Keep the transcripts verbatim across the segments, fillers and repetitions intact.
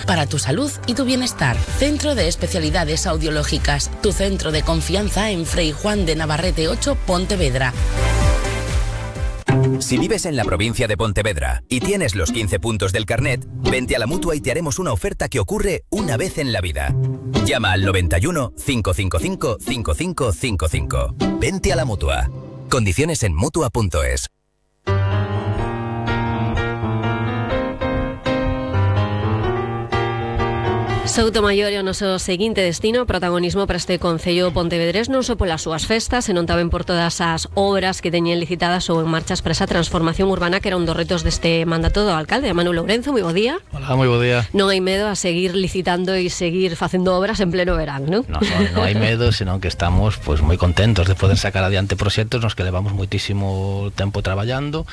para tu salud y tu bienestar. Centro de Especialidades Audiológicas, tu centro de confianza en Frei Juan de Navarrete ocho, Pontevedra. Si vives en la provincia de Pontevedra y tienes los quince puntos del carnet, vente a la Mutua y te haremos una oferta que ocurre una vez en la vida. Llama al noventa y uno, cinco cinco cinco, cinco cinco cinco cinco. Vente a la Mutua. Condiciones en mutua punto es. Soutomaior é o noso seguinte destino, protagonismo para este concello pontevedrés non só polas súas festas, senón tamén por todas as obras que teñen licitadas ou en marchas para esa transformación urbana que era un dos retos deste mandato do alcalde, Manu Lourenzo. Moi bo día. Hola, moi bo día. Non hai medo a seguir licitando e seguir facendo obras en pleno verán, non? Non, non, non hai medo, senón que estamos pues, moi contentos de poder sacar adiante proxectos nos que levamos moitísimo tempo traballando.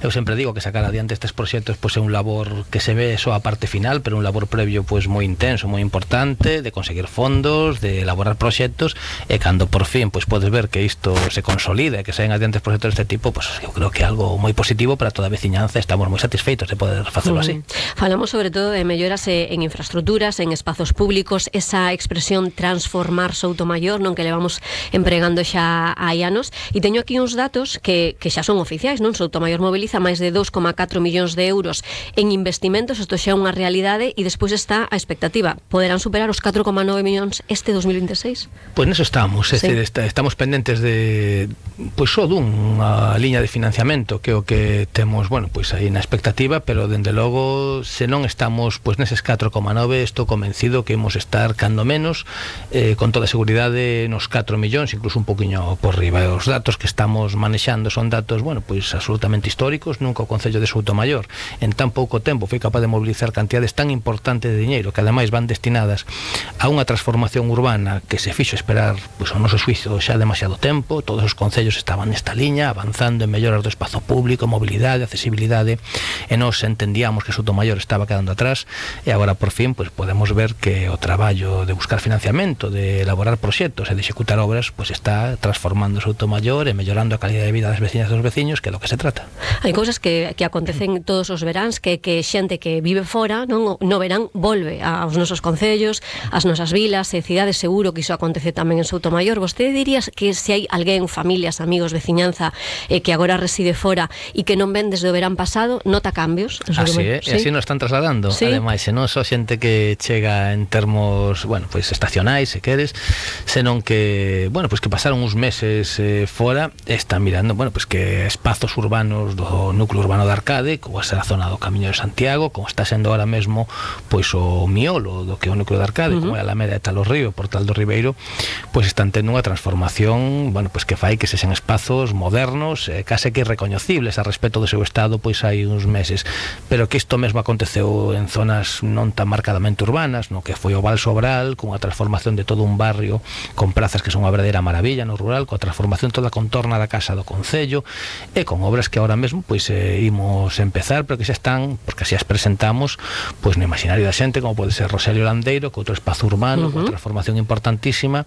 Eu sempre digo que sacar adiante estes proxectos pues, é un labor que se ve só a parte final, pero un labor previo pues, moi intenso, moi importante, de conseguir fondos, de elaborar proxectos, e cando por fin pues, podes ver que isto se consolida e que saen adiante proxectos deste tipo, pues, eu creo que é algo moi positivo para toda a veciñanza. Estamos moi satisfeitos de poder facelo así. Mm. Falamos sobre todo de melloras en infraestructuras, en espazos públicos, esa expresión transformar Soutomaior, non, que levamos empregando xa hai anos, e teño aquí uns datos que, que xa son oficiais, non? Soutomaior moviliza máis de dous coma catro millóns de euros en investimentos, isto xa é unha realidade, e despois está a expectativa. Poderán superar os catro coma nove millóns este dos mil veintiséis? Pois neso estamos, é sí. decir, está, estamos pendentes de pois só dunha liña de financiamento que é o que temos, bueno, pois aí na expectativa, pero dende logo se non estamos pois neses catro coma nove, estou convencido que imos estar cando menos eh, con toda a seguridade nos catro millóns, incluso un poquinho por riba. Os datos que estamos manexando son datos, bueno, pois absolutamente históricos. Nunca o Concello de Soutomaior en tan pouco tempo foi capaz de mobilizar cantidades tan importantes de diñeiro que ademais van destinadas a unha transformación urbana que se fixo esperar pois, ao noso xuízo xa demasiado tempo. Todos os concellos estaban nesta liña, avanzando en melloras do espazo público, mobilidade, accesibilidade, e nós entendíamos que Soutomaior estaba quedando atrás, e agora por fin pois, podemos ver que o traballo de buscar financiamento, de elaborar proxectos e de executar obras pois, está transformando Soutomaior e mellorando a calidad de vida das veciñas e dos veciños, que é do que se trata. Hai cousas que, que acontecen todos os veráns, que, que xente que vive fora non, no verán volve aos nosos concellos, as nosas vilas e cidades. Seguro que iso acontece tamén en Soutomaior. Vostede dirías que se hai alguén, familias, amigos, veciñanza eh, que agora reside fora e que non ven desde o verán pasado, nota cambios? Así é, ¿sí? E así nos están trasladando. ¿Sí? Ademais, se non só xente que chega en termos, bueno, pois pues, estacionais, se queres, senón que, bueno, pois pues, que pasaron uns meses eh, fora, están mirando, bueno, pois pues, que espazos urbanos do núcleo urbano de Arcade, como é a zona do Camiño de Santiago, como está sendo ahora mesmo pois o miolo do que é o núcleo de Arcade, uh -huh. como é a Alameda de Talos Río, Portal do Ribeiro, pois están tendo unha transformación, bueno, pois que fai que sexan espazos modernos, eh, case que irrecoñecibles a respecto do seu estado pois hai uns meses, pero que isto mesmo aconteceu en zonas non tan marcadamente urbanas, no que foi o Val Sobral, con a transformación de todo un barrio con prazas que son unha verdadeira maravilla no rural, coa transformación toda a contorna da casa do concello, e con obras que ahora mesmo pois eh, imos empezar, pero que xa están, porque así as presentamos, pois no imaginario da xente, como pode ser Roselio Landeiro, que outro espazo urbano, uh -huh. con transformación importantísima,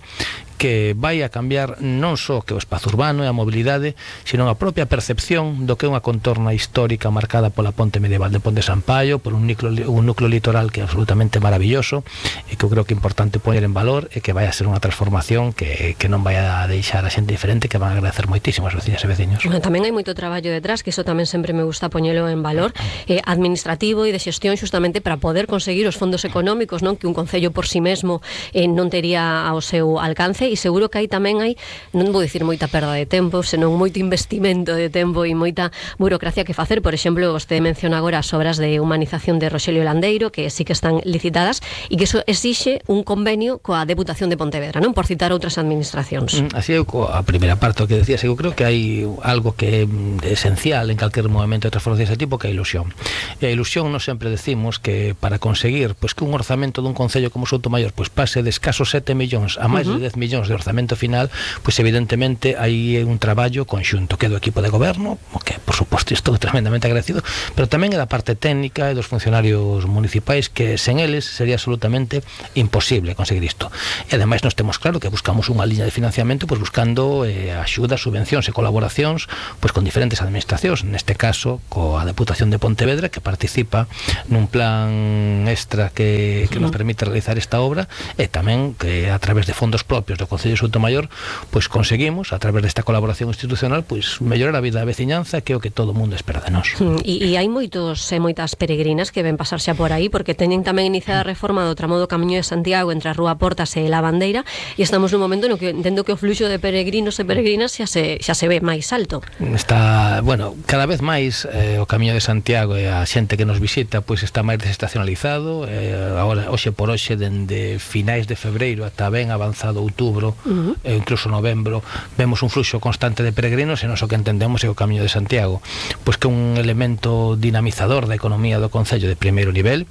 que vai a cambiar non só que o espazo urbano e a mobilidade, sino a propia percepción do que é unha contorna histórica marcada pola ponte medieval de Ponte Sampaio, por un núcleo, un núcleo litoral que é absolutamente maravilloso, e que eu creo que é importante poñer en valor, e que vai a ser unha transformación que, que non vai a deixar a xente diferente, que van a agradecer moitísimo as veciñas e veciños. Tamén hai moito traballo detrás, que iso tamén sempre me gusta poñelo en valor, eh, administrativo e de xestión, xustamente para poder conseguir os fondos económicos, non, que un concello por si sí mesmo eh, non tería ao seu alcance, e seguro que aí tamén hai, non vou dicir moita perda de tempo, senón moito investimento de tempo e moita burocracia que facer. Por exemplo, vostede menciona agora as obras de humanización de Roselio Landeiro, que sí que están licitadas, e que eso exixe un convenio coa Deputación de Pontevedra, non, por citar outras administracións. Así é, a primeira parte que decías, eu creo que hai algo que é esencial en calquer movimento de transformación deste tipo, que é a ilusión. E a ilusión, nos sempre decimos que para conseguir pois, que un orzamento dun concello como Soutomaior pois pase de escasos sete millóns a máis uh -huh. de dez millóns de orzamento final, pois evidentemente hai un traballo conxunto que é do equipo de goberno, que por suposto estou tremendamente agradecido, pero tamén é da parte técnica e dos funcionarios municipais, que sen eles sería absolutamente imposible conseguir isto. E ademais nos temos claro que buscamos unha liña de financiamento pois buscando eh, axudas, subvencións e colaboracións pois con diferentes administracións, neste caso coa Deputación de Pontevedra, que participa nun plan extra que, que nos permite realizar esta obra, e tamén que a través de fondos propios do Concello de Soutomaior pois conseguimos, a través desta colaboración institucional, pois mellorar a vida da veciñanza, que é o que todo o mundo espera de nós. E, e hai moitos e moitas peregrinas que ven pasar xa por aí, porque teñen tamén iniciada a reforma do tramo do Camiño de Santiago entre a Rúa Portas e La Bandeira, e estamos nun momento no que entendo que o fluxo de peregrinos e peregrinas xa se, xa se ve máis alto. Está, bueno, cada vez máis eh, o Camiño de Santiago e a xente que nos visita pois está máis desestacionalizado, eh, agora, hoxe por hoxe, dende finais de febreiro ata ben avanzado outubro, uh -huh. e incluso novembro, vemos un fluxo constante de peregrinos, e non o que entendemos é o Camiño de Santiago, pois que é un elemento dinamizador da economía do Concello de primeiro nivel.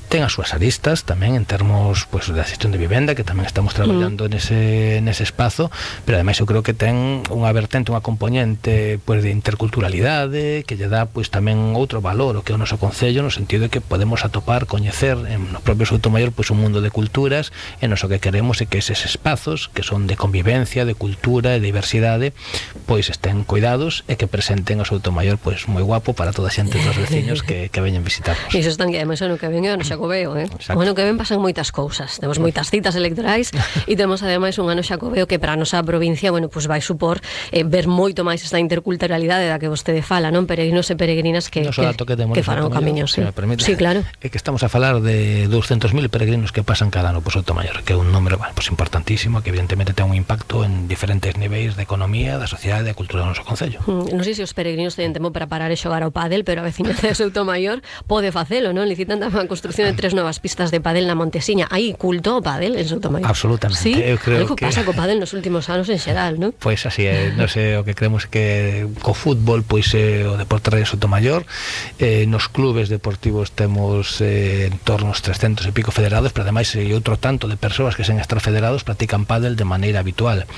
Ten as súas aristas tamén en termos pois, da xestión de vivenda, que tamén estamos traballando mm. nese, nese espazo, pero ademais eu creo que ten unha vertente, unha componente pois, de interculturalidade, que lle dá pois, tamén outro valor o que é o noso Concello, no sentido de que podemos atopar, coñecer en no propio Soutomaior pois, un mundo de culturas, e nos o que queremos é que eses espazos que son de convivencia, de cultura e de diversidade pois estén cuidados e que presenten o Soutomaior pois, moi guapo para toda a xente dos veciños que, que veñen visitarnos. Iso están que ademais ano que ven é o Xacobeo, eh? O ano que ven pasan moitas cousas. Temos moitas citas electorais e temos ademais un ano Xacobeo que para a nosa provincia, bueno, pues vai supor eh, ver moito máis esta interculturalidade da que vostede fala, non? Peregrinos e peregrinas que, que, que, que farán o camiño, sí. Sí, claro. É que estamos a falar de douscentos mil peregrinos que pasan cada ano por Soutomaior, que é un número, bueno, pues importantísimo, que evidentemente ten un impacto en diferentes niveis de economía, da sociedade e da cultura do noso Concello. Mm, non sei se os peregrinos teñen tempo para parar e xogar ao pádel, pero a veciñanza de Soutomaior pode facelo, non? Licitan tamén a construcción de tres novas pistas de pádel na Montesiña. Hai culto ao pádel en Soutomaior? Absolutamente. Sí? Eu creo Algo que pasa co pádel nos últimos anos en xeral, non? Pois pues así é, non sei, o que creemos que co fútbol pois é o deporte rei de Soutomaior, eh, nos clubes deportivos temos eh, en torno aos trescentos e pico federados, pero ademais hai outro tanto de persoas que sen estar federados practican pádel de maneira habitual.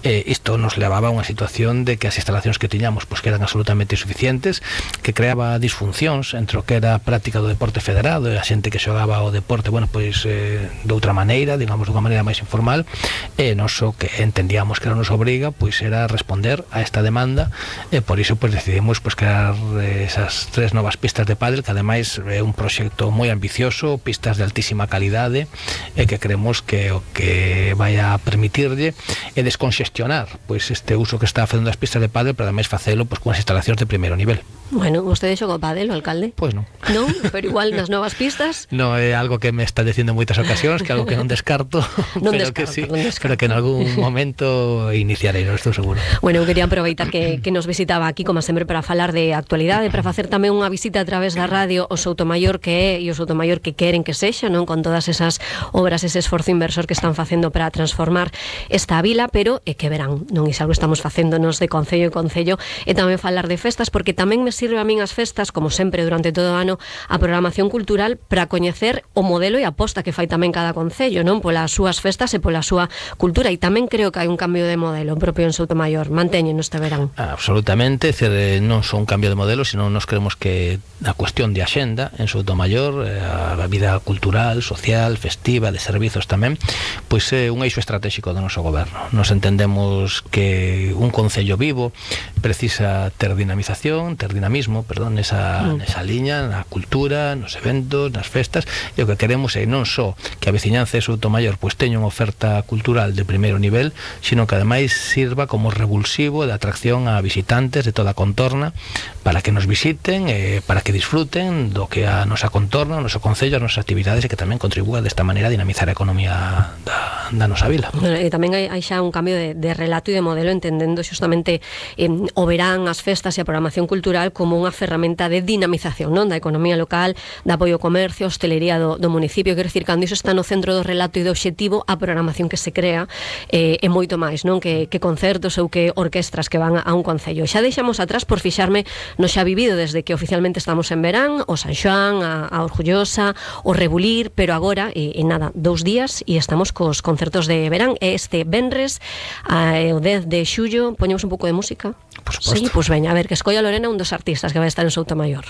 Eh, isto nos levaba a unha situación de que as instalacións que tiñamos pois que eran absolutamente insuficientes, que creaba disfuncións entre o que era a práctica do deporte federado e a xente que xogaba o deporte, bueno, pois eh, de outra maneira, digamos, de unha maneira máis informal, e nos o que entendíamos que era a nosa obriga, pois era responder a esta demanda, e por iso pois decidimos pois crear eh, esas tres novas pistas de pádel, que ademais é un proxecto moi ambicioso, pistas de altísima calidade, e que creemos que o que vai a permitirlle é desconxestionar pois este uso que está facendo das pistas de pádel, pero ademais facelo pois con as instalacións de primeiro nivel. Bueno, vostede xogou pádel, o alcalde? Pois non. Non? Pero igual nas novas pistas? No, é algo que me está dicindo en moitas ocasións, que algo que non descarto, non pero descarto, que sí, non descarto. pero que en algún momento iniciarei, non estou seguro. Bueno, eu quería aproveitar que, que nos visitaba aquí, como sempre, para falar de actualidade, para facer tamén unha visita a través da radio o Soutomaior que é e o Soutomaior que queren que sexa, non? Con todas esas obras, ese esforzo inversor que están facendo para transformar esta vila, pero é que verán, non? Iso algo estamos facéndonos de concello en concello, e tamén falar de festas, porque tamén me sirve a min as festas, como sempre durante todo o ano, a programación cultural para coñecer o modelo e a aposta que fai tamén cada concello, non? Polas súas festas e pola súa cultura, e tamén creo que hai un cambio de modelo propio en Soutomaior. Manteñen este verán. Absolutamente, decir, non só un cambio de modelo, sino nos creemos que a cuestión de axenda en Soutomaior, a vida cultural, social, festiva, de servizos tamén, pois é un eixo estratégico do noso goberno. Nos entendemos que un concello vivo precisa ter dinamización, ter dinamismo, perdón, nesa, mm. nesa liña, na cultura, nos eventos, nas festas, e o que queremos é non só que a veciñanza de Soutomaior pois teña unha oferta cultural de primeiro nivel, sino que ademais sirva como revulsivo de atracción a visitantes de toda a contorna, para que nos visiten e para que disfruten do que a nosa contorna, o noso concello, as nosas actividades, e que tamén contribúa desta maneira a dinamizar a economía da, da nosa vila. Bueno, e tamén hai, hai xa un cambio de, de relato e de modelo, entendendo xustamente eh, o verán, as festas e a programación cultural entendida como unha ferramenta de dinamización, non, da economía local, de apoio ao comercio, hostelería do, do municipio. Quero dicir, cando iso está no centro do relato e do obxectivo, a programación que se crea eh, é moito máis, non, que, que concertos ou que orquestras que van a, a un concello. Xa deixamos atrás, por fixarme no xa vivido desde que oficialmente estamos en verán, o San Xoán, a, a Orgullosa, o Rebulir, pero agora, e, e nada, dous días e estamos cos concertos de verán. Este venres, a, o dez de xullo, poñemos un pouco de música. Por suposto. Sí, pois pues veña, a ver, que escolla Lorena un dos artistas que vai estar en Soutomaior.